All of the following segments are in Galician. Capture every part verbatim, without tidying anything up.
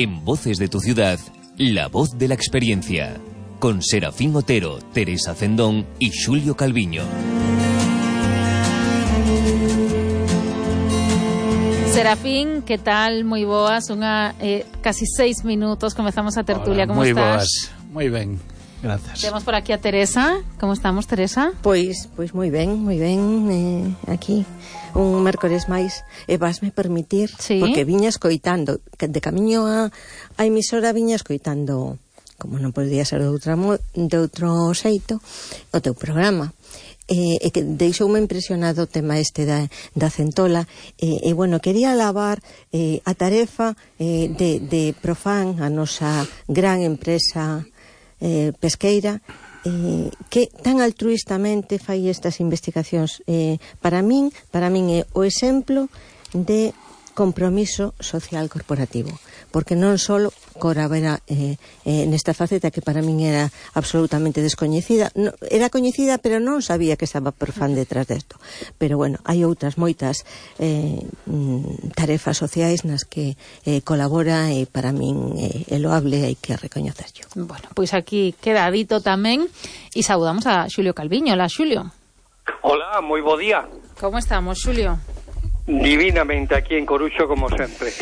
En Voces de tu Ciudad, la voz de la experiencia. Con Serafín Otero, Teresa Cendón y Xulio Calviño. Serafín, que tal? Moi boas, unha eh, casi seis minutos comezamos a tertulia. Hola, como moi estás? Boas, moi ben, grazas. Temos por aquí a Teresa. Como estamos, Teresa? Pois, pois moi ben, moi ben, eh, aquí un mércores máis, e vasme permitir, sí, porque viña escoitando, de camiño a, a emisora viña escoitando, como non podía ser de, outra, de outro xeito, o teu programa. E, e que deixoume impresionado o tema este da, da centola, e, e bueno, quería alabar eh, a tarefa eh, de, de Profan, a nosa gran empresa eh, pesqueira, eh, que tan altruistamente fai estas investigacións. Eh, para min, para min é o exemplo de compromiso social corporativo, porque non só corabera eh, eh, nesta faceta que para min era absolutamente descoñecida, no, era coñecida pero non sabía que estaba Profan detrás desto, pero bueno, hai outras moitas eh, tarefas sociais nas que eh, colabora, e para min eh, é loable, hai que recoñecerlo. Bueno, pois aquí queda dito tamén, e saudamos a Xulio Calviño. Hola, Xulio. Hola, moi bo día. Como estamos, Xulio? Divinamente aquí en Coruxo, como sempre.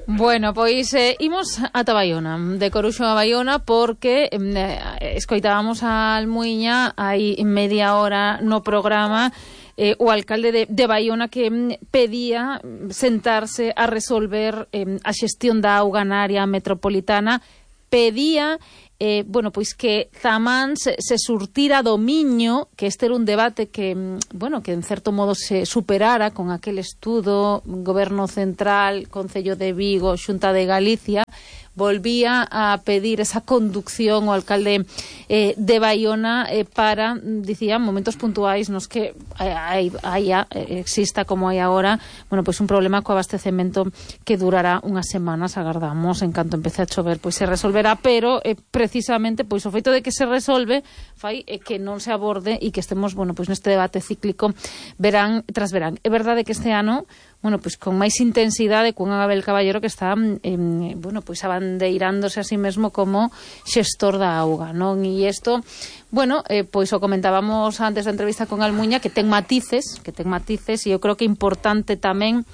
Bueno, pois eh, imos ata Baiona, de Coruxo a Baiona, porque eh, escoitábamos a Almuiña hai media hora no programa, eh, o alcalde de, de Baiona, que mm, pedía sentarse a resolver eh, a xestión da auga na área metropolitana, pedía Eh, bueno, pois que Zamán se, se surtira do miño, que este era un debate que, bueno, que en certo modo se superara con aquel estudo, Goberno Central, Concello de Vigo, Xunta de Galicia. Volvía a pedir esa conducción o alcalde eh, de Baiona eh, para, dicía, momentos puntuais nos que hai, hai, exista, como hai agora, bueno, pois un problema co abastecemento que durará unhas semanas, agardamos, en canto empece a chover, pois se resolverá, pero eh, precisamente pois o feito de que se resolve fai eh, que non se aborde e que estemos, bueno, pois neste debate cíclico verán tras verán. É verdade que este ano, bueno, pois con máis intensidade, cun Abel Caballero que está eh, bueno, pois abandeirándose a sí mesmo como xestor da auga, non? E isto, bueno, eh, pois o comentábamos antes da entrevista con Almuña, que ten matices, que ten matices, e eu creo que é importante tamén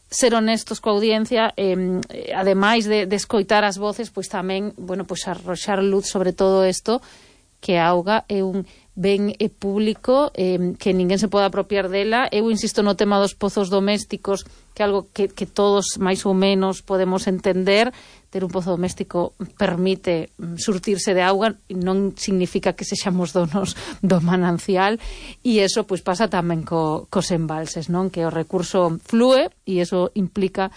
ser honestos coa audiencia, eh, ademais de, de escoitar as voces, pois tamén, bueno, pois arroxar luz sobre todo isto, que a auga é un ben é público, eh, que ninguén se pode apropiar dela. Eu insisto no tema dos pozos domésticos, que é algo que, que todos máis ou menos podemos entender. Ter un pozo doméstico permite surtirse de auga, non significa que sexamos donos do manancial, e eso pois pasa tamén co, cos embalses, non? Que o recurso flúe, e eso implica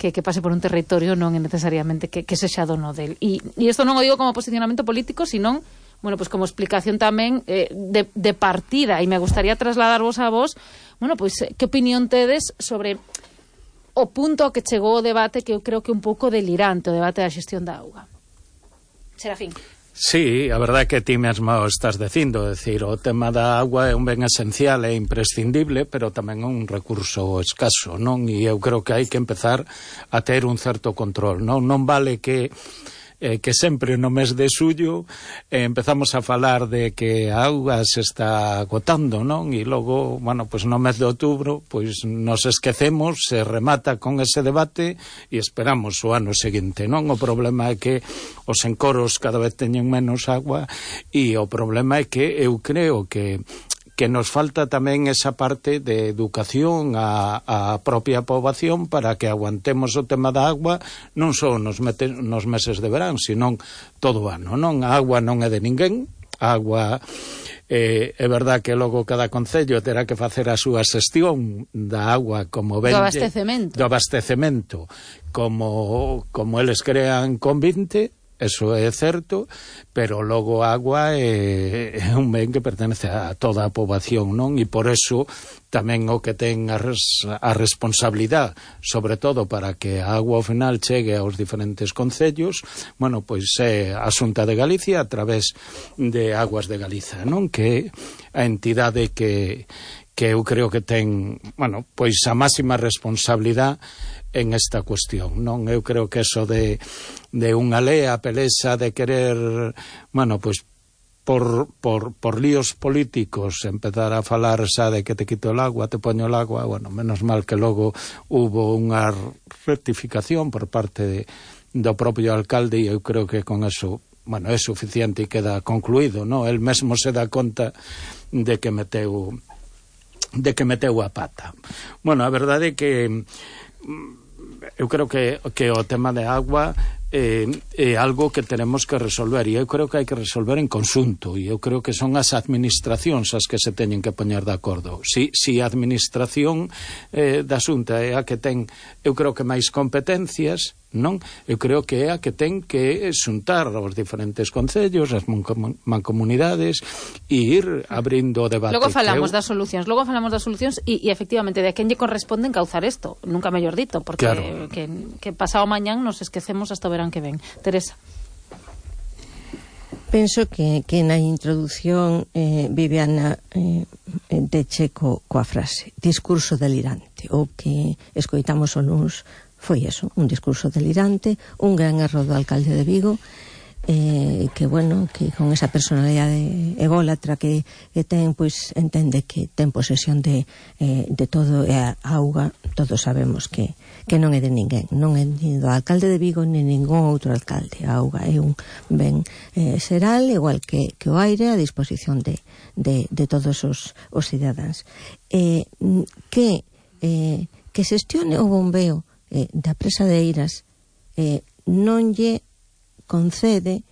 que, que pase por un territorio, non é necesariamente que, que sexa dono del. E, e isto non o digo como posicionamento político, senón, bueno, pues como explicación tamén eh, de, de partida, e me gustaría trasladarvos a vos, bueno, pois pues, que opinión tedes sobre o punto ao que chegou o debate, que eu creo que é un pouco delirante, o debate da xestión da auga. Serafín. Sí, a verdade é que ti mesmo estás dicindo, é dicir, o tema da agua é un ben esencial e imprescindible, pero tamén é un recurso escaso, non? E eu creo que hai que empezar a ter un certo control, non? Non vale que Eh, que sempre no mes de xullo eh, empezamos a falar de que a auga se está agotando, non? E logo, bueno, pois no mes de outubro, pois nos esquecemos, se remata con ese debate e esperamos o ano seguinte, non? O problema é que os encoros cada vez teñen menos agua, e o problema é que eu creo que que nos falta tamén esa parte de educación á, á propia poboación para que aguantemos o tema da agua non só nos, mete, nos meses de verán, senón todo o ano, non? A agua non é de ninguén, a agua eh, é verdad que logo cada concello terá que facer a súa xestión da agua como ben, do abastecemento, do abastecemento como, como eles crean convinte. Eso é certo, pero logo a agua é, é un ben que pertenece a toda a poboación, non? E por eso tamén o que ten a, res, a responsabilidade, sobre todo para que a agua ao final chegue aos diferentes concellos, bueno, pois é a Xunta de Galicia a través de Aguas de Galiza, non? Que é a entidade que que eu creo que ten, bueno, pois a máxima responsabilidade en esta cuestión, non? Eu creo que eso de, de unha lea pelesa de querer, bueno, pois por, por, por líos políticos empezar a falar xa de que te quito el agua, te poño el agua, bueno, menos mal que logo hubo unha rectificación por parte de, do propio alcalde, e eu creo que con eso, bueno, é suficiente e queda concluído, non? El mesmo se dá conta de que meteu de que meteu a pata. Bueno, a verdade é que eu creo que, que o tema de agua é, é algo que tenemos que resolver, e eu creo que hai que resolver en conxunto, e eu creo que son as administracións as que se teñen que poñer de acordo. Si, si a administración eh, da Xunta é a que ten, eu creo que máis competencias, non? Eu creo que é a que ten que xuntar os diferentes concellos, as mancomunidades, e ir abrindo o debate. Logo falamos eu... das solucións, logo falamos das solucións e, e efectivamente de a quen lle corresponde encauzar isto, nunca mellor dito, porque claro, que, que pasado mañán nos esquecemos hasta o verán que ven. Teresa. Penso que, que na introducción eh, Viviana eh, de Checo coa frase discurso delirante, o que escoitamos o luns foi eso, un discurso delirante, un gran erro do alcalde de Vigo, eh, que bueno, que con esa personalidade ególatra que, que ten, pois entende que ten posesión de, eh, de todo, e a auga todos sabemos que, que non é de ninguén, non é ni do alcalde de Vigo ni ningún outro alcalde. A auga é un ben eh, xeral, igual que, que o aire, a disposición de, de, de todos os, os cidadáns. Eh, que, eh, que xestione o bombeo Eh, da presa de Eiras eh, non lle concede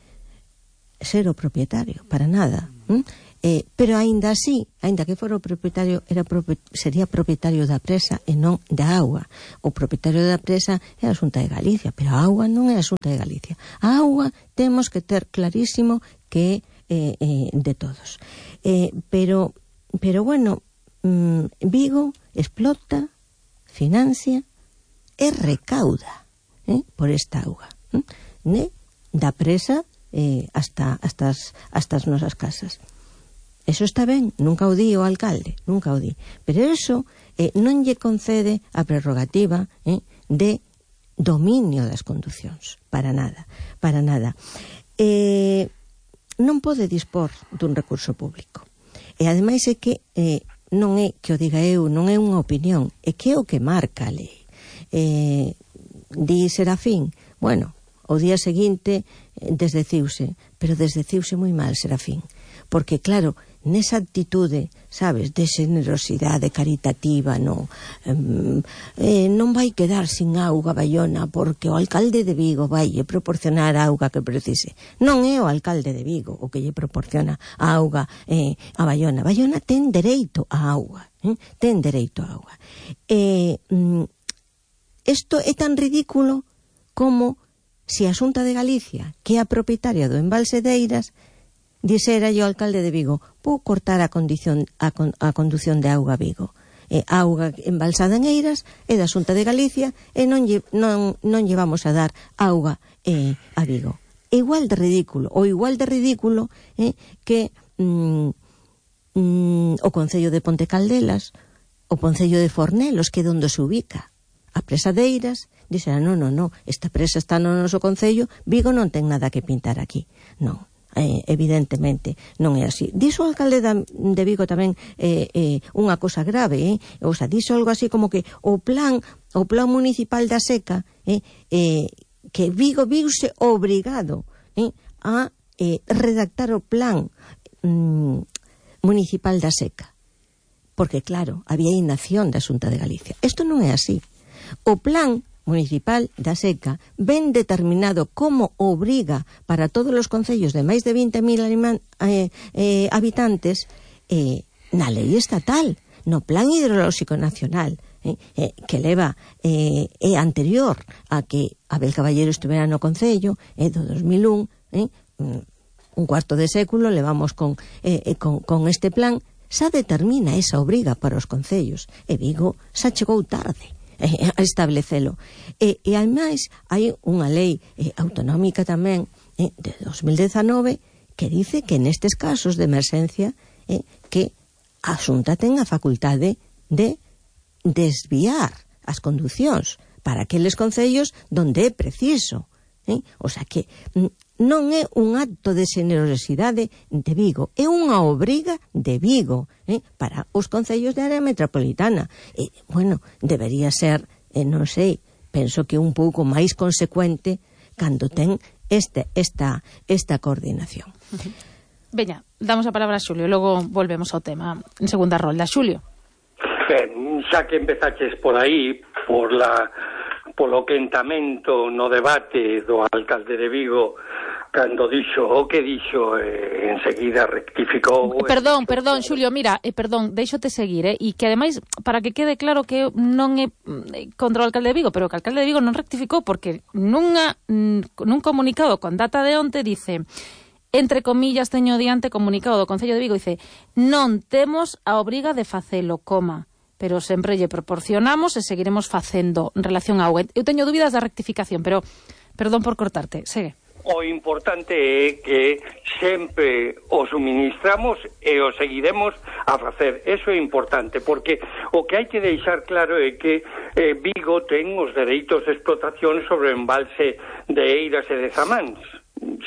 ser o propietario, para nada, ¿m? Eh, pero aínda así, aínda que fora o propietario, era propi- sería propietario da presa e non da auga. O propietario da presa é a Xunta de Galicia, pero a auga non é a Xunta de Galicia. A auga temos que ter clarísimo que é eh, eh, de todos. Eh, pero, pero bueno, mmm, Vigo explota, financia e recauda eh, por esta auga, eh, ne, da presa eh, hasta, hasta, as, hasta as nosas casas. Eso está ben, nunca o di o alcalde, nunca o di, pero eso eh, non lle concede a prerrogativa eh, de dominio das conducións, para nada, para nada. Eh, non pode dispor dun recurso público, e ademais é que eh, non é que o diga eu, non é unha opinión, é que é o que marca a lei. Eh, di Serafín, bueno, o día seguinte eh, desdeciuse, pero desdeciuse moi mal Serafín, porque claro, nesa actitude, sabes, de generosidade caritativa, no, eh, non vai quedar sin auga Baiona porque o alcalde de Vigo vai lle proporcionar a auga que precise. Non é o alcalde de Vigo o que lle proporciona a auga eh, a Baiona. Baiona ten dereito a auga, eh? ten dereito a auga. Eh, mm, Isto é tan ridículo como se a Xunta de Galicia, que é a propietaria do embalse de Eiras, dixera yo ao alcalde de Vigo, vou cortar a, condición, a, con, a condución de auga a Vigo. E a auga embalsada en Eiras é da Xunta de Galicia e non lle, non, non lle vamos a dar auga eh, a Vigo. Igual de ridículo, ou igual de ridículo eh, que mm, mm, o Concello de Ponte Caldelas, o Concello de Fornelos, que é onde se ubica a presa de Eiras, dixera, non, non, non, esta presa está no noso concello, Vigo non ten nada que pintar aquí. Non, eh, evidentemente non é así. Dixo o alcalde de Vigo tamén eh, eh, unha cosa grave, eh? O sea, dixo algo así como que o plan o plan municipal da seca, eh, eh, que Vigo viuse obrigado eh, a eh, redactar o plan mm, municipal da seca, porque claro, había inacción da Xunta de Galicia. Isto non é así. O plan municipal da seca ben determinado como obriga para todos os concellos de máis de vinte mil eh, eh, habitantes eh, na lei estatal, no plan hidrolóxico nacional, eh, eh, que leva eh, é anterior a que Abel Caballero estuvera no concello, é eh, do dos mil un, eh, un cuarto de século levamos con, eh, con, con este plan, xa determina esa obriga para os concellos, e Vigo xa chegou tarde a establecelo. E, e ademais hai unha lei eh, autonómica tamén eh, de dos mil dezanove que dice que nestes casos de emerxencia eh, que a Xunta ten a facultade de desviar as conducións para aqueles concellos donde é preciso, eh? O sea que non é un acto de xenerosidade de Vigo, é unha obriga de Vigo, eh? Para os concellos de área metropolitana. E, bueno, debería ser, eh, non sei, penso que un pouco máis consecuente cando ten este, esta, esta coordinación. Veña, damos a palabra a Xulio, logo volvemos ao tema en segunda rolda. Xulio. Ben, xa que empezaches por aí, por la polo quentamento no debate do alcalde de Vigo, cando dixo o que dixo, eh, enseguida rectificou. Perdón, perdón, Xulio, mira, eh, perdón, deixote seguir, eh, e que ademais, para que quede claro que non é contra o alcalde de Vigo, pero que o alcalde de Vigo non rectificou, porque nunha, nun comunicado con data de onte dice, entre comillas, teño diante comunicado do Concello de Vigo, dice, non temos a obriga de facelo, coma, pero sempre lle proporcionamos e seguiremos facendo en relación a auga. Eu teño dúbidas da rectificación, pero perdón por cortarte, segue. O importante é que sempre o suministramos e o seguiremos a facer. Eso é importante, porque o que hai que deixar claro é que eh, Vigo ten os dereitos de explotación sobre o embalse de Eiras e de Zamáns,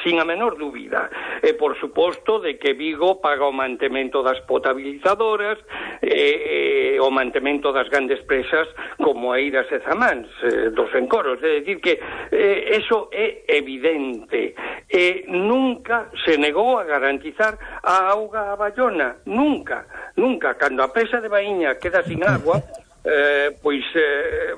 sin a menor dúbida. E, por suposto, de que Vigo paga o mantemento das potabilizadoras, e, e o mantemento das grandes presas como Eiras e Zamáns, eh, dos encoros. É dicir que eh, eso é evidente. E nunca se negou a garantizar a auga a Bayona. Nunca, nunca. Cando a presa de Baíña queda sin agua, eh, pois eh,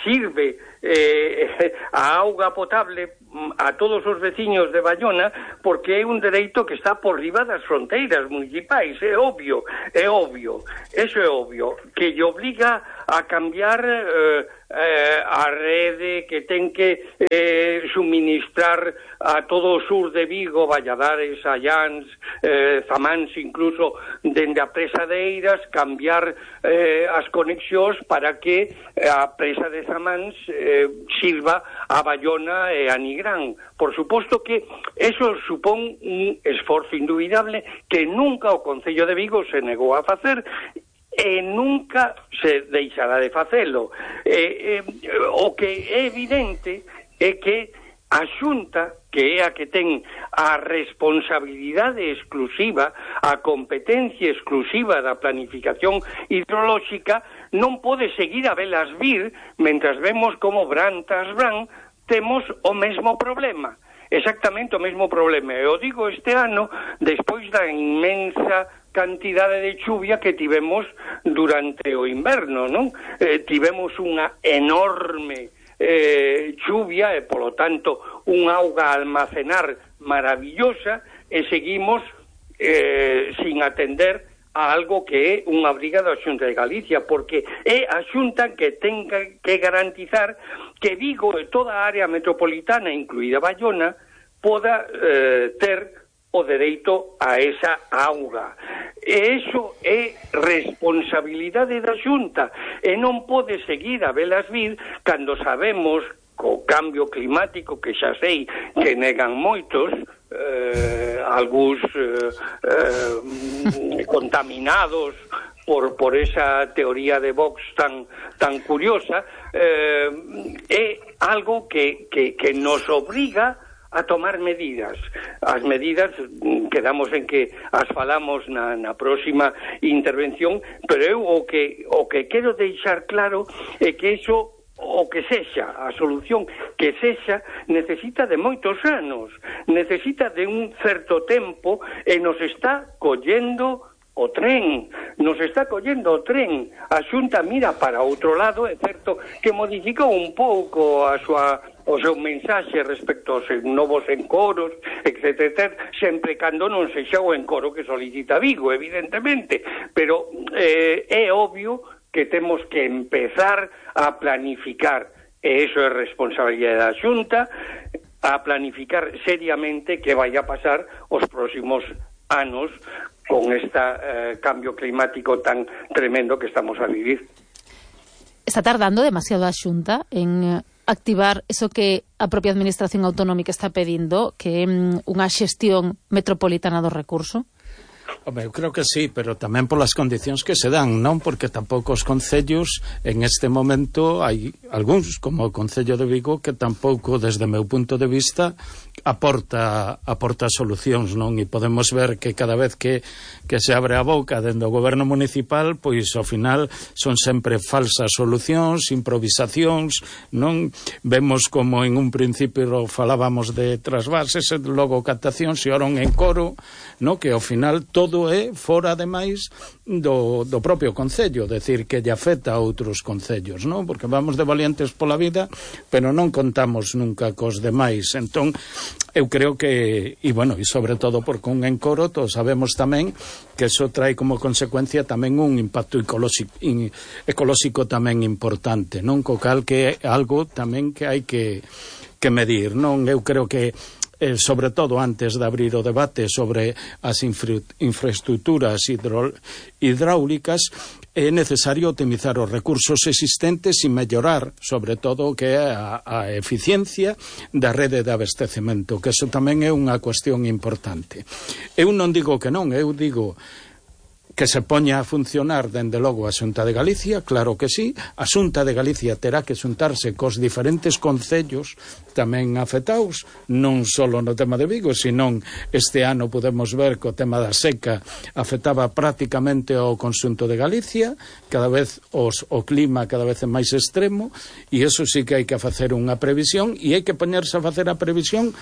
sirve eh, a auga potable a todos os veciños de Bayona, porque é un dereito que está por riba das fronteiras municipais, é obvio, é obvio, eso é obvio, que lle obliga a cambiar eh, eh, a rede que ten que eh, suministrar a todo o sur de Vigo, Valladares, Allans, eh, Zamáns, incluso dende a presa de Eiras, cambiar eh, as conexións para que a presa de Zamáns eh, sirva a Bayona e a Nigrán. Por suposto que eso supón un esforzo indubidable que nunca o Concello de Vigo se negou a facer e nunca se deixará de facelo. Eh, eh, o que é evidente é que a Xunta, que é a que ten a responsabilidade exclusiva, a competencia exclusiva da planificación hidrolóxica, non pode seguir a velas vir mentras vemos como bran tras bran temos o mesmo problema, exactamente o mesmo problema. Eu digo este ano, despois da inmensa cantidade de chuvia que tivemos durante o inverno, non? Eh, tivemos unha enorme eh, chuvia e, polo tanto, unha auga a almacenar maravillosa e seguimos eh, sin atender a algo que é unha obriga da Xunta de Galicia, porque é a Xunta que ten que garantizar que Vigo e toda a área metropolitana, incluída Bayona, poda eh, ter o dereito a esa auga. E iso é responsabilidade da Xunta e non pode seguir a velas vir cando sabemos co cambio climático, que xa sei que negan moitos, eh, algúns eh, eh, contaminados por, por esa teoría de Vox tan, tan curiosa, eh, é algo que, que, que nos obriga a tomar medidas. As medidas quedamos en que as falamos na, na próxima intervención, pero eu o que, o que quero deixar claro é que iso, o que sexa, a solución que sexa, necesita de moitos anos, necesita de un certo tempo e nos está collendo o tren, nos está collendo o tren. A Xunta mira para outro lado, é certo que modificou un pouco a súa o seu mensaxe respecto aos novos encoros, etcétera, sempre cando non sexa o encoro que solicita Vigo, evidentemente, pero eh, é obvio que temos que empezar a planificar, e iso é responsabilidade da Xunta, a planificar seriamente que vai a pasar os próximos anos con este eh, cambio climático tan tremendo que estamos a vivir. Está tardando demasiado a Xunta en activar eso que a propia Administración Autonómica está pedindo, que é unha xestión metropolitana do recurso? Home, eu creo que sí, pero tamén polas condicións que se dan, non? Porque tampouco os concellos en este momento hai algúns, como o Concello de Vigo, que tampouco, desde o meu punto de vista, aporta aporta solucións, non? E podemos ver que cada vez que, que se abre a boca dentro do goberno municipal, pois ao final son sempre falsas solucións, improvisacións, non? Vemos como en un principio falábamos de trasvases, e logo captacións e ora un encoro, non? Que ao final todo é fora ademais do, do propio concello, decir que lle afecta a outros concellos, non? Porque vamos de valientes pola vida, pero non contamos nunca cos demais. Entón, eu creo que, e bueno, e sobre todo porque un encoro, todos sabemos tamén que eso trae como consecuencia tamén un impacto ecolóxico, in, ecolóxico tamén importante, non? Co cal que é algo tamén que hai que, que medir, non? Eu creo que Eh, sobre todo antes de abrir o debate sobre as infra infraestructuras hidro hidráulicas, é necesario optimizar os recursos existentes e mellorar, sobre todo, o que é a, a eficiencia da rede de abastecemento, que eso tamén é unha cuestión importante. Eu non digo que non, eu digo que se poña a funcionar, dende logo, a Xunta de Galicia, claro que sí. A Xunta de Galicia terá que xuntarse cos diferentes concellos tamén afectados, non só no tema de Vigo, senón este ano podemos ver que o tema da seca afectaba prácticamente ao conxunto de Galicia, cada vez os, o clima cada vez é máis extremo, e eso sí que hai que facer unha previsión, e hai que poñerse a facer a previsión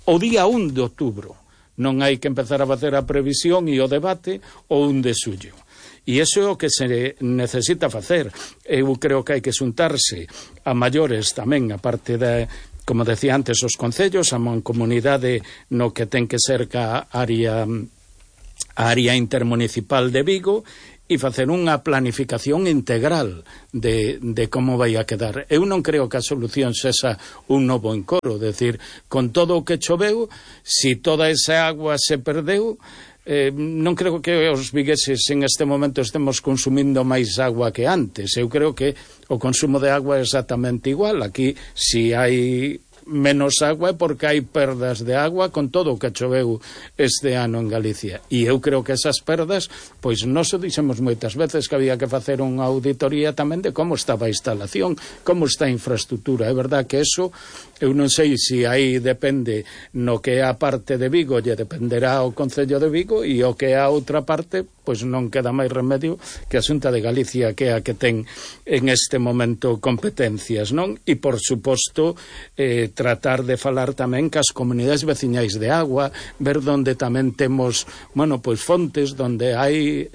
o día un de outubro. Non hai que empezar a facer a previsión e o debate o un de xullo. E iso é o que se necesita facer. Eu creo que hai que xuntarse a maiores tamén, a parte da, como decía antes, os concellos, a mancomunidade no que ten que ser ca área, a área intermunicipal de Vigo, e facer unha planificación integral de, de como vai a quedar. Eu non creo que a solución sexa un novo encoro, decir, con todo o que choveu, si toda esa agua se perdeu, eh, non creo que os vigueses en este momento estemos consumindo máis agua que antes. Eu creo que o consumo de agua é exactamente igual. Aquí, si hai menos agua é porque hai perdas de agua con todo o que choveu este ano en Galicia, e eu creo que esas perdas, pois nós o dixemos moitas veces que había que facer unha auditoría tamén de como estaba a instalación, como está a infraestructura. É verdad que eso, eu non sei se aí depende no que é a parte de Vigo, lle dependerá o Concello de Vigo, e o que é a outra parte, pois non queda máis remedio que a Xunta de Galicia, que é a que ten en este momento competencias, non? E por suposto, eh, tratar de falar tamén cas comunidades veciñais de agua, ver onde tamén temos, bueno, pois fontes onde hai,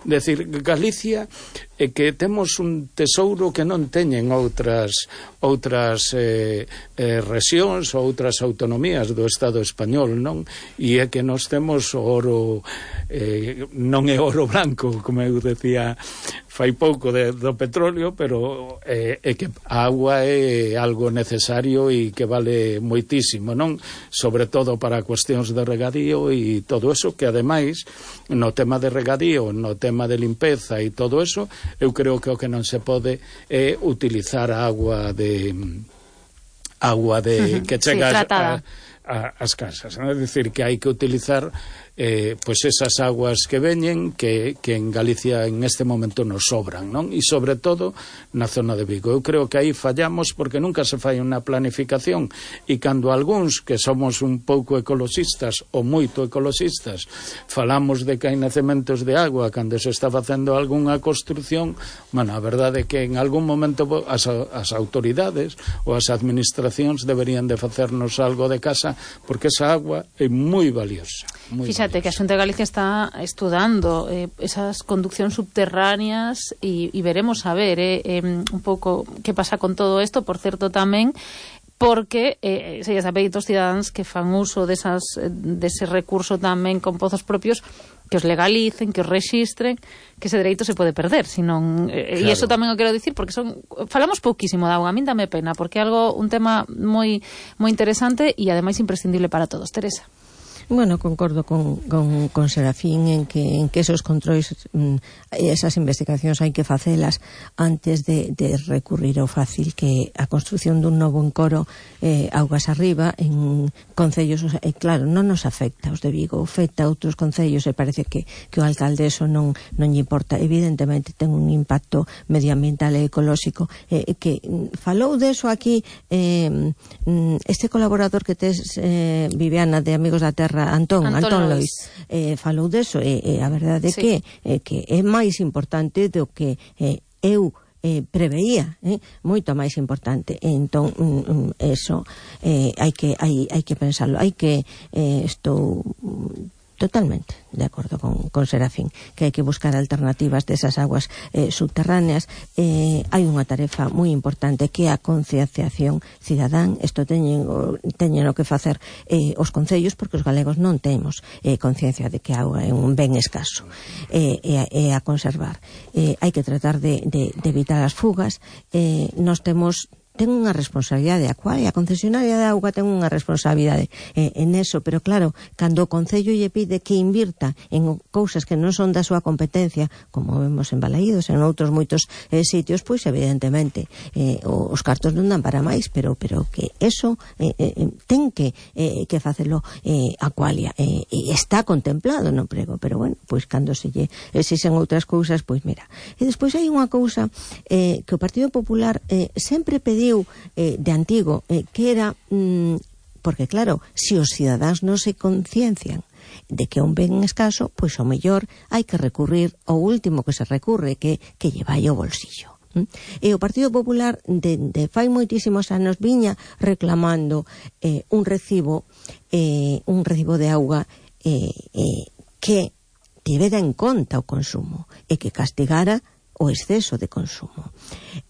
decir, Galicia é que temos un tesouro que non teñen outras outras eh, eh, rexións ou outras autonomías do Estado español, non? E é que nós temos oro, eh, non é oro branco, como eu decía fai pouco de, do petróleo, pero eh, é que a agua é algo necesario e que vale moitísimo, non? Sobre todo para cuestións de regadío e todo eso, que ademais no tema de regadío, no tema de limpeza e todo eso, eu creo que o que non se pode é utilizar a agua de agua de que chega sí, a, a, as casas, non? É dicir, que hai que utilizar eh, pois esas aguas que veñen, que, que en Galicia en este momento nos sobran, non? E sobre todo na zona de Vigo. Eu creo que aí fallamos porque nunca se fai unha planificación, e cando algúns que somos un pouco ecoloxistas ou moito ecoloxistas falamos de que hai nacementos de agua cando se está facendo algunha construción, bueno, a verdade é que en algún momento as, as autoridades ou as administracións deberían de facernos algo de casa, porque esa agua é moi valiosa. Muy Fíxate que a Xunta de Galicia está estudando eh, esas conduccións subterráneas e, e veremos a ver eh, eh, un pouco que pasa con todo isto, por certo tamén porque eh, se lles apeitos cidadáns que fan uso desas, dese recurso tamén con pozos propios, que os legalicen, que os rexistren, que ese dereito se pode perder, senón, eh, claro. E iso tamén o quero dicir porque son falamos pouquísimo da auga, a min dame pena, porque é algo un tema moi moi interesante e ademais imprescindible para todos. Teresa. Bueno, concordo con, con, con Serafín en que, en que esos controis, esas investigacións hai que facelas antes de, de recurrir ao fácil que a construción dun novo encoro eh, augas arriba en concellos, e eh, claro, non nos afecta os de Vigo, afecta a outros concellos e parece que, que o alcalde eso non, non lle importa. Evidentemente ten un impacto medioambiental e ecolóxico eh, que falou deso aquí eh, este colaborador que tes eh, Viviana de Amigos da Terra, Antón, Antón, Antón Lois, eh, falou deso e eh, eh, a verdade é sí. que, eh, que é máis importante do que eh, eu eh, preveía, eh, moito máis importante. Entón, mm, eso eh, hai que hai, hai que pensarlo, hai que eh, estou totalmente de acordo con, con Serafín, que hai que buscar alternativas desas aguas eh, subterráneas. Eh, hai unha tarefa moi importante que é a concienciación cidadán. Isto teñen, teñen o que facer eh, os concellos, porque os galegos non temos eh, conciencia de que a auga é un ben escaso eh, e, e a conservar. Eh, hai que tratar de, de, de evitar as fugas. Eh, nos temos ten unha responsabilidade, a cual a concesionaria de auga ten unha responsabilidade eh, en eso, pero claro, cando o Concello lle pide que invirta en cousas que non son da súa competencia, como vemos en Balaídos, en outros moitos eh, sitios, pois evidentemente eh, os cartos non dan para máis, pero pero que eso eh, eh, ten que eh, que facelo eh, a Qualia, eh, e está contemplado no prego, pero bueno, pois cando se lle exixen outras cousas, pois mira. E despois hai unha cousa eh, que o Partido Popular eh, sempre pediu Eh, de antigo, eh, que era mm, porque claro, se si os cidadáns non se conciencian de que un ben escaso, pois o mellor hai que recurrir ao último que se recurre, que, que lle vai ao bolsillo. ¿Mm? E o Partido Popular de, de fai moitísimos anos viña reclamando eh, un recibo eh, un recibo de auga eh, eh, que tivera en conta o consumo e que castigara o exceso de consumo.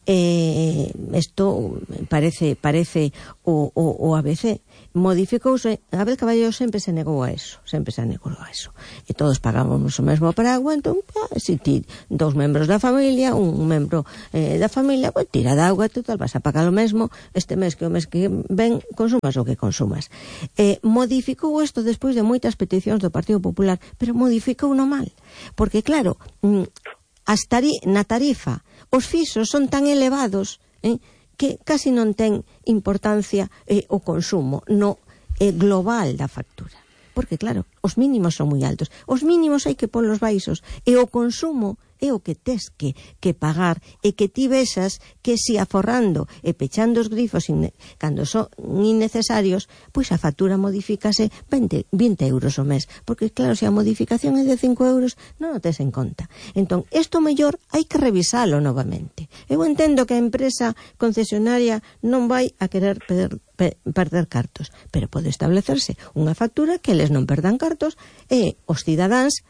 Eh, isto parece parece o, o, o A B C modificouse. Abel Caballero sempre se negou a eso, sempre se negou a eso. E todos pagábamos o mesmo para agua, entón, ah, se ti dous membros da familia, un membro eh, da familia, pues, tira de auga, total, vas a pagar o mesmo este mes que o mes que ven consumas o que consumas. Eh, modificou isto despois de moitas peticións do Partido Popular, pero modificou no mal, porque claro, mm, As tari, na tarifa os fixos son tan elevados eh, que casi non ten importancia eh, o consumo no eh, global da factura, porque claro, os mínimos son moi altos, os mínimos hai que polos baixos, e o consumo é o que tes que, que pagar, e que ti vexas que si aforrando e pechando os grifos in, cando son innecesarios, pois a factura modifícase vinte, vinte euros o mes, porque claro, se a modificación é de cinco euros non o tes en conta. Entón, isto mellor hai que revisalo novamente. Eu entendo que a empresa concesionaria non vai a querer perder, per, perder cartos, pero pode establecerse unha factura que eles non perdan cartos e os cidadáns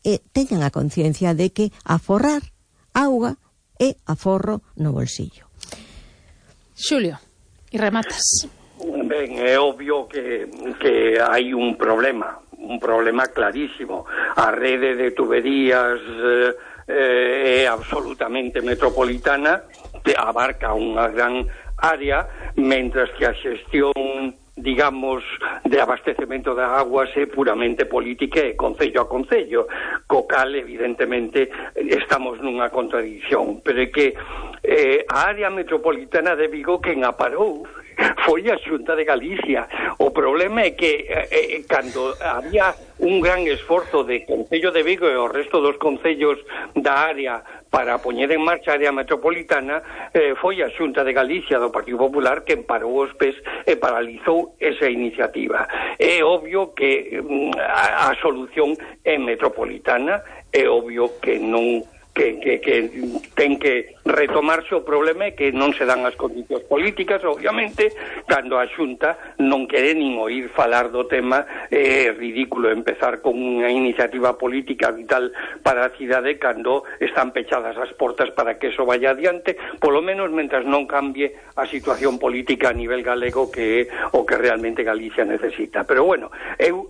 e teñan a conciencia de que aforrar auga é aforro no bolsillo. Xulio, e rematas. Ben, é obvio que, que hai un problema, un problema clarísimo. A rede de tuberías eh, é absolutamente metropolitana, abarca unha gran área, mentras que a xestión, digamos, de abastecemento de aguas é puramente política e concello a concello, co cal evidentemente estamos nunha contradicción, pero é que eh, a área metropolitana de Vigo quen a parou foi a Xunta de Galicia. O problema é que eh, cando había un gran esforzo de Concello de Vigo e o resto dos concellos da área para poñer en marcha a área metropolitana, eh, foi a Xunta de Galicia do Partido Popular que parou os pés e paralizou esa iniciativa. É obvio que mm, a, a solución é metropolitana, é obvio que non que, que, que ten que retomarse. O problema é que non se dan as condicións políticas, obviamente, cando a Xunta non quere nin oír falar do tema. É ridículo empezar con unha iniciativa política vital para a cidade cando están pechadas as portas para que eso vaya adiante, polo menos mentras non cambie a situación política a nivel galego, que é o que realmente Galicia necesita. Pero bueno, eu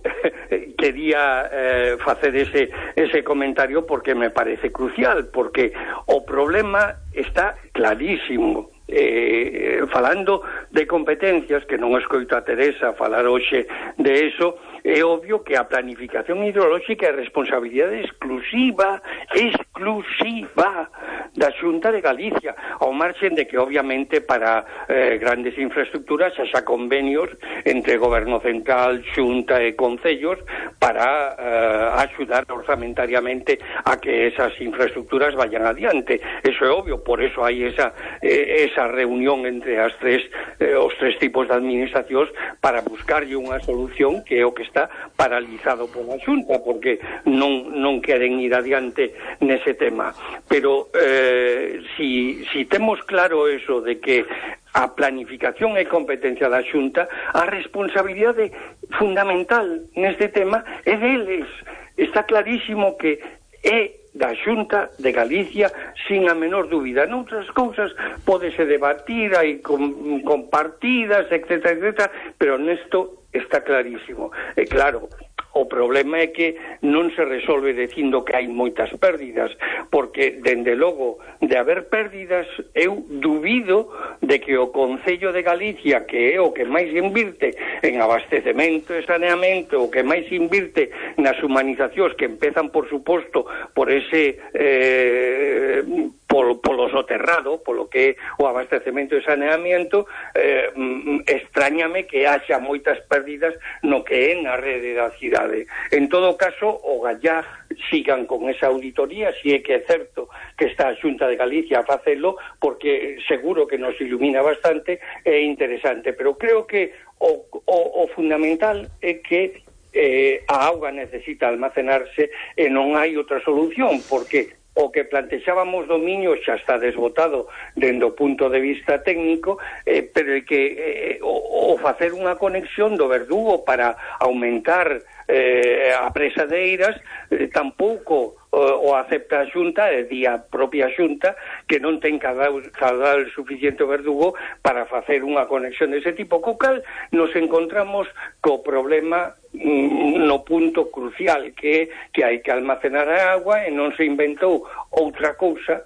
quería eh, facer ese, ese comentario porque me parece crucial, porque o problema está clarísimo. Eh, falando de competencias, que non escoito a Teresa falar hoxe de eso, é obvio que a planificación hidrolóxica é responsabilidade exclusiva, exclusiva da Xunta de Galicia, ao marxen de que obviamente para eh, grandes infraestructuras xa convenios entre Goberno Central, Xunta e Concellos para eh, axudar orzamentariamente a que esas infraestructuras vayan adiante. Eso é obvio, por eso hai esa eh, esa reunión entre as tres eh, os tres tipos de administracións para buscarlle unha solución que é o que está paralizado pola Xunta, porque non non queren ir adiante nese tema. Pero eh, si, si temos claro eso de que a planificación é competencia da Xunta, a responsabilidade fundamental neste tema é deles. Está clarísimo que é da Xunta de Galicia sin a menor dúbida. Noutras cousas pódese debatir, hai com, compartidas, etcétera, etcétera, pero nesto está clarísimo. E claro, o problema é que non se resolve dicindo que hai moitas pérdidas, porque, dende logo, de haber pérdidas, eu dubido de que o Concello de Galicia, que é o que máis invirte en abastecemento e saneamento, o que máis invirte nas humanizacións, que empezan, por suposto, por ese... Eh, polo, polo soterrado, polo que é o abastecemento e saneamento, eh, extrañame que haxa moitas pérdidas no que é na rede da cidade. En todo caso, o Gallá sigan con esa auditoría, si é que é certo que está a Xunta de Galicia a facelo, porque seguro que nos ilumina bastante, é interesante, pero creo que o, o, o fundamental é que eh, a auga necesita almacenarse e non hai outra solución, porque o que plantexábamos do Miño xa está desbotado dende o punto de vista técnico, eh, pero que eh, o, o facer unha conexión do Verdugo para aumentar eh, a presa de Eiras eh, tampouco o, o acepta a Xunta, e di a propia Xunta que non ten caudal, caudal suficiente o Verdugo para facer unha conexión dese tipo, co cal nos encontramos co problema no punto crucial, que é que hai que almacenar a agua e non se inventou outra cousa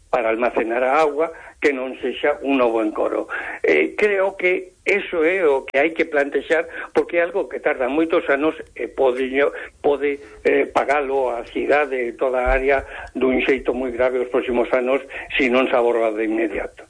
para almacenar a agua que non sexa un novo encoro. Eh, creo que eso é o que hai que plantexar, porque é algo que tarda moitos anos e pode, pode eh, pagalo a cidade e toda a área dun xeito moi grave os próximos anos se non se aborda de inmediato.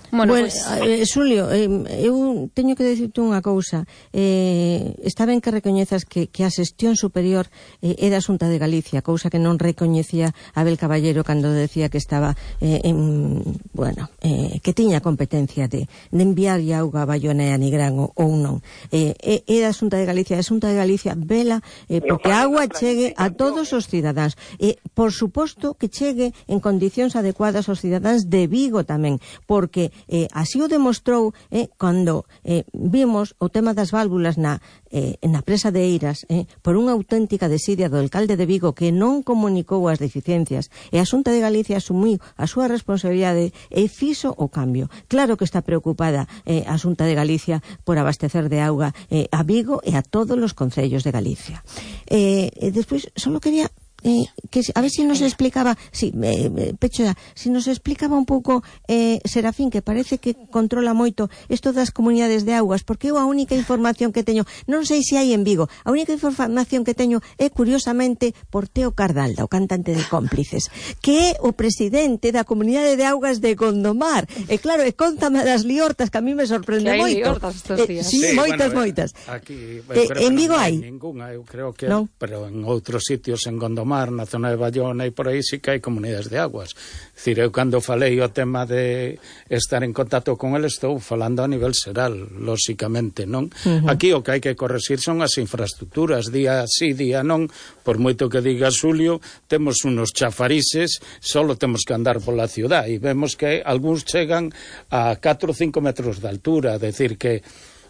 Bueno, pues... eh, Xulio, eh, eu teño que dicirte unha cousa. Eh, está ben que recoñezas que, que a xestión superior eh, é da Xunta de Galicia, cousa que non recoñecía Abel Caballero cando decía que estaba eh, en, bueno, eh, que tiña competencia de, de enviar auga a Baiona e a Nigrán ou, ou non. Eh, é, é da Xunta de Galicia, a Xunta de Galicia vela eh, porque a agua chegue a todos os cidadáns. E, por suposto, que chegue en condicións adecuadas aos cidadáns de Vigo tamén, porque Eh, así o demostrou eh, cando eh, vimos o tema das válvulas na, eh, na presa de Eiras eh, por unha auténtica desidia do alcalde de Vigo que non comunicou as deficiencias, e a Xunta de Galicia asumiu a súa responsabilidade e fixo o cambio. Claro que está preocupada eh, a Xunta de Galicia por abastecer de auga eh, a Vigo e a todos os concellos de Galicia. Eh, e despois, só quería Eh, que a ver se si nos explicaba, si, eh, Pecho, si nos explicaba un pouco eh, Serafín, que parece que controla moito isto das comunidades de augas, porque eu a única información que teño, non sei se hai en Vigo, a única información que teño é curiosamente por Teo Cardalda, o cantante de Cómplices, que é o presidente da comunidade de augas de Gondomar. E claro, e contame das liortas, que a mí me sorprende que hai moito. Liortas estes días. Eh, sí, sí, moitas, bueno, moitas. Aquí, eh, en Vigo hai? Ninguna, eu creo que, no. Pero en outros sitios, en Gondomar, na zona de Baiona e por aí sí que hai comunidades de aguas. Dicir, eu cando falei o tema de estar en contacto con el, estou falando a nivel xeral, lóxicamente, non? Uh-huh. Aquí o que hai que corregir son as infraestructuras, día sí, día non, por moito que diga Xulio, temos unos chafarises, solo temos que andar pola ciudad e vemos que algúns chegan a catro ou cinco metros de altura, decir que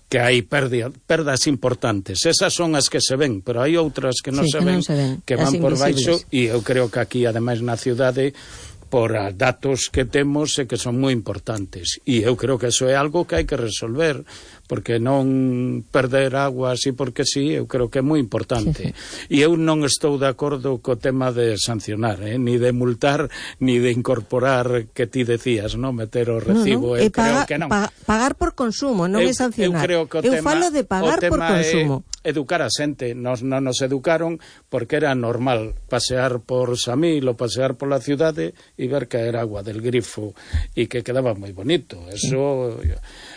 que hai perda, perdas importantes. Esas son as que se ven, pero hai outras que non, sí, se, que ven, non se ven, que van por baixo, e eu creo que aquí, ademais, na cidade, por datos que temos, e que son moi importantes. E eu creo que eso é algo que hai que resolver, porque non perder agua así porque sí, eu creo que é moi importante. E eu non estou de acordo co tema de sancionar, eh? ni de multar, ni de incorporar, que ti decías, non meter o recibo. No, no. Eu paga, creo que non. Pa, pagar por consumo, non eu, é sancionar. Eu creo que o eu tema, falo de pagar por consumo. É educar a xente. Nos non nos educaron porque era normal pasear por Samil ou pasear pola cidade e ver caer agua del grifo e que quedaba moi bonito. Eso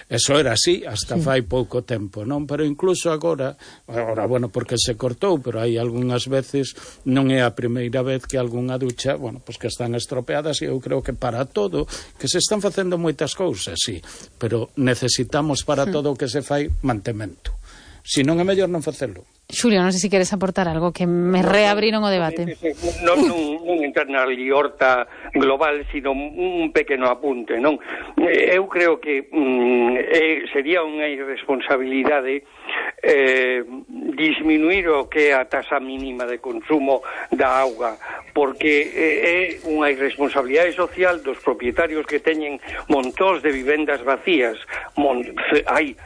eso era así hasta sí. fai pouco tempo, non? Pero incluso agora, agora, bueno, porque se cortou, pero hai algunhas veces, non é a primeira vez que algunha ducha, bueno, pues que están estropeadas, e eu creo que para todo, que se están facendo moitas cousas, sí, pero necesitamos para sí. todo o que se fai mantemento. Si non é mellor non facelo. Xulio, non sei se queres aportar algo, que me reabriron o debate. Non, non, non entrar na liorta global, sino un pequeno apunte, non? Eu creo que mm, eh, sería unha irresponsabilidade eh, disminuir o que é a tasa mínima de consumo da auga, porque eh, é unha irresponsabilidade social dos propietarios que teñen montóns de vivendas vacías. Mon, hai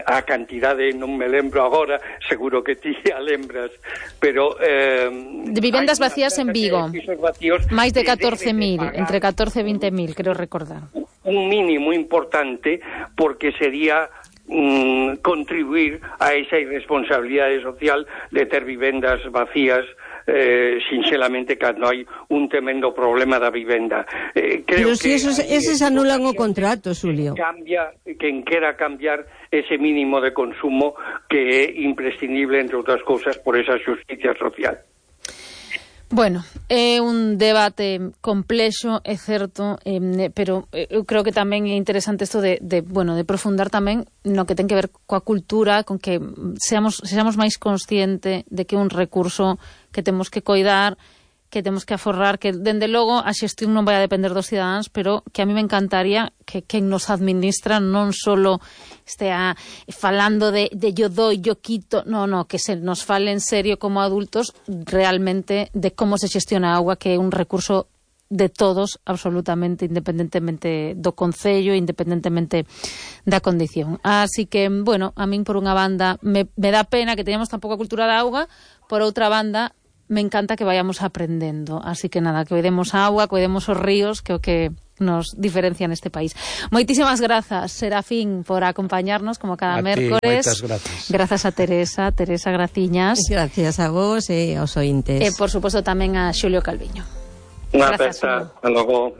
a cantidade, non me lembro agora, seguro que ti a lembras, pero eh, de vivendas vacías en Vigo, máis de catorce mil, de entre catorce e vinte mil, creo recordar. Un mínimo importante, porque sería mm, contribuir a esa irresponsabilidade social de ter vivendas vacías, Eh, sinceramente, cando hai un tremendo problema da vivenda. Eh, creo Pero si que esos, eses anulan o contrato, Xulio. Cambia, quen quera cambiar ese mínimo de consumo que é imprescindible, entre outras cousas, por esa xusticia social. Bueno, é un debate complexo, é certo, eh, pero eu creo que tamén é interesante isto de, de, bueno, de profundar tamén no que ten que ver coa cultura, con que seamos, seamos máis consciente de que é un recurso que temos que coidar, que temos que aforrar, que, dende logo, a xestión non vai a depender dos cidadáns, pero que a mí me encantaría que quen nos administra non solo estea falando de, de yo doy, yo quito, no, no, que se nos fale en serio como adultos realmente de como se xestiona a auga, que é un recurso de todos, absolutamente, independentemente do concello, independentemente da condición. Así que, bueno, a min por unha banda me, me dá pena que teñamos tan pouca cultura da auga, por outra banda me encanta que vayamos aprendendo. Así que nada, que cuidemos a auga, cuidemos os ríos, que o que nos diferencia neste país. Moitísimas grazas, Serafín, por acompañarnos como cada a mércores. Ti, grazas. Grazas a Teresa, Teresa Graciñas. Gracias a vos e aos ointes. E, por suposto, tamén a Xulio Calviño. Unha aperta, hasta logo.